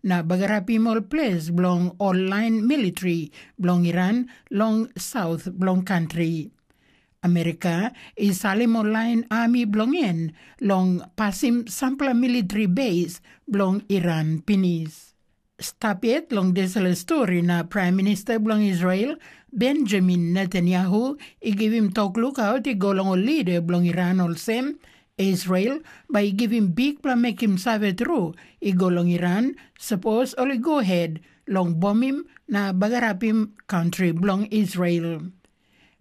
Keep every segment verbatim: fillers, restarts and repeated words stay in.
na bagarapim ol ples bilong ol lain militri bilong Iran long saut bilong kantri. Amerika i salim ol lain ami bilong en long pasim sampela militri base bilong Iran pinis. Stap yet long dispela stori na Pram Minista bilong Israel, Benjamin Netanyahu, i givim tok lukaut i go long ol lida bilong Iran olsem, Israel bai i givim bikpela mekim save tru i go long Iran, sapos ol i go het long bomim na bagarapim kantri bilong Israel.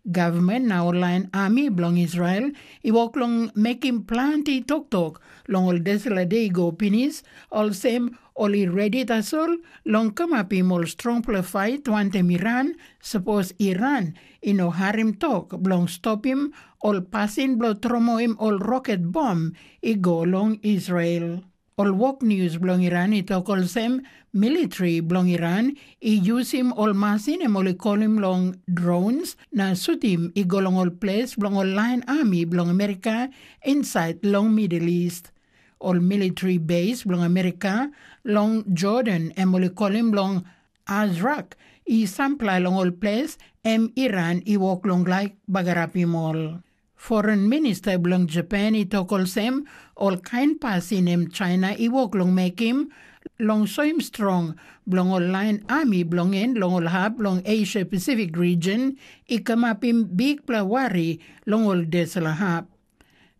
Gavman na ol lain ami bilong Israel i wok long mekim planti toktok long ol dispela de i go pinis, olsem ol i redi tasol long kamapim ol strongpela fait wantaim Iran, sapos Iran i no harim tok bilong stopim ol pasin bilong tromoi ol roket bom i go long Israel. Ol wok nius bilong Iran i tok olsem, militri bilong Iran i yusim ol masin em ol i kolim long drones na sutim i go long ol ples bilong ol lain ami bilong Amerika insait long Middle East. Ol militri base bilong Amerika long Jordan em ol i kolim long Azrak i sampela long ol ples em Iran i wok long laik bagarapim ol. Foren minista bilong Japan i tok olsem, ol kain pasin em China i wok long mekim long soim strong bilong ol lain ami bilong en long ol hap long Asia Pasifik region i kamapim bikpela wari long ol dispela hap.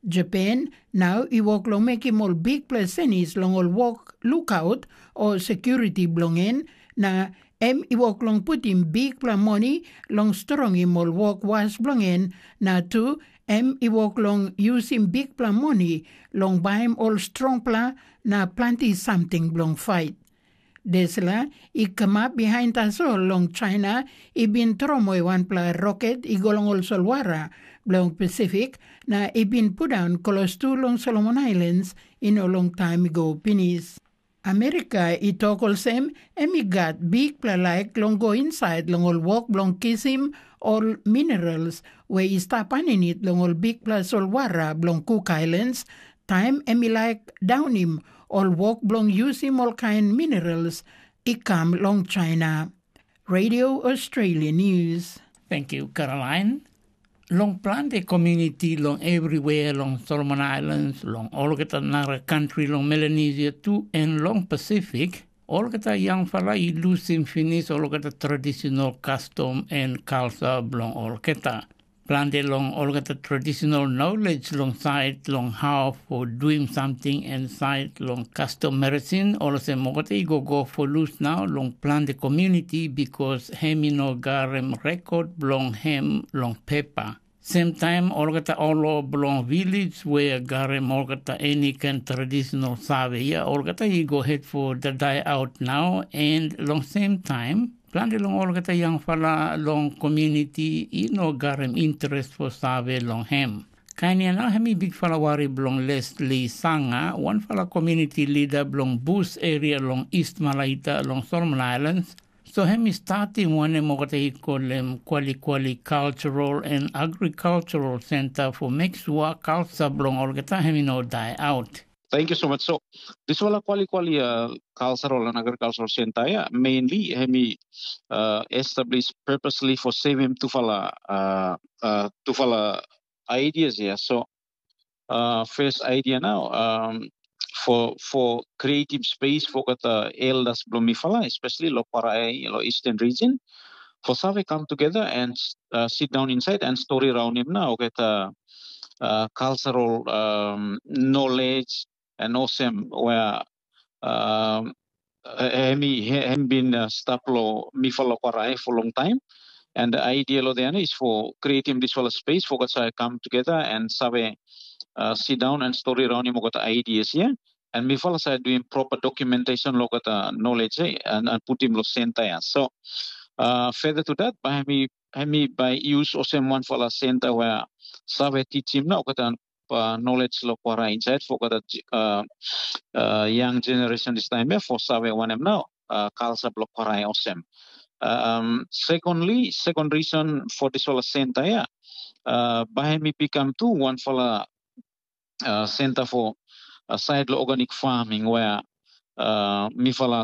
Japan nau i wok long mekim ol bikpela senis long ol wok lukaut o sekuriti bilong en, na em i wok long putim bikpela moni long strongim ol wok was bilong en, na tu em i wok long yusim bikpela moni long baim ol strongpela na planti samting bilong fait. Dispela i kamap bihain tasol long China i bin tromoi wanpela roket i go long ol solwara bilong Pasifik na i bin pundaun klostu long Solomon Ailens i no long taim i go pinis. Amerika i tok olsem, em i gat bikpela laik long go insait long ol wok bilong kisim ol minerals we i stap aninit long ol bikpela solwara bilong Cook Islands, taim em i laik daunim ol wok bilong yusim ol kain minerals i kam long China. Radio Australia News. Thank you, Caroline. Long planti komuniti long everywhere long Solomon Islands, long olgeta nara kantri long Melanesia tu, en long Pasifik, olgeta yangpela i lusim pinis olgeta tradisional kastom en kalsa bilong olgeta. Planti long olgeta tradisional knowledge long sait long how for doing something en sait long custom medicine, olsem olgeta i go go for lus nau long planti community because hem i no garim rekod bilong hem long pepa. Semtaim olgeta olo bilong village we garim olgeta eni ken tradisional save ya, olgeta i go het for the die out nau, en long sem taim planti long olgeta yangpela long community i no garim interes for save long hem. Kain ya nau hem i bikpela wari bilong Leslie Sanga, wanpela community leader bilong Bus area long East Malaita long Solomon Islands. So hem i statim wanem olgeta i kolem Kwalikwali Cultural and Agricultural Center for make sure culture bilong olgeta hem i no die out. Thank you so much. So, dispela Kwalikwali uh, Cultural and Agricultural Center, yeah, mainly hem i uh, established purposely for saving tufala uh, uh, tufala ideas here. So, uh, first idea now um, for for creative space for kata elders bilong mifala, especially lo Parai, lo Eastern region, for save come together and uh, sit down inside and story around him now kata uh, cultural um, knowledge and awesome where um, uh, hemi hem been uh, stap lo mifala Parai for long time. And the idea lo the is for creating this whole space for kata come together and save uh, sit down and story around him got ideas here. And mifala side doing proper documentation lo kata knowledge eh, and, and put him lo center. Yeah. So uh, further to that, by hemi hemi by use osem one fala center where save teach him now kata uh, knowledge lo Parai inside for kata uh, uh, young generation this time eh, for save wanem now uh, culture lo Parai osem. Um, secondly, second reason for this whole center, yeah, uh, by hemi become too one fala uh, center for uh, side lo organic farming where uh, mifala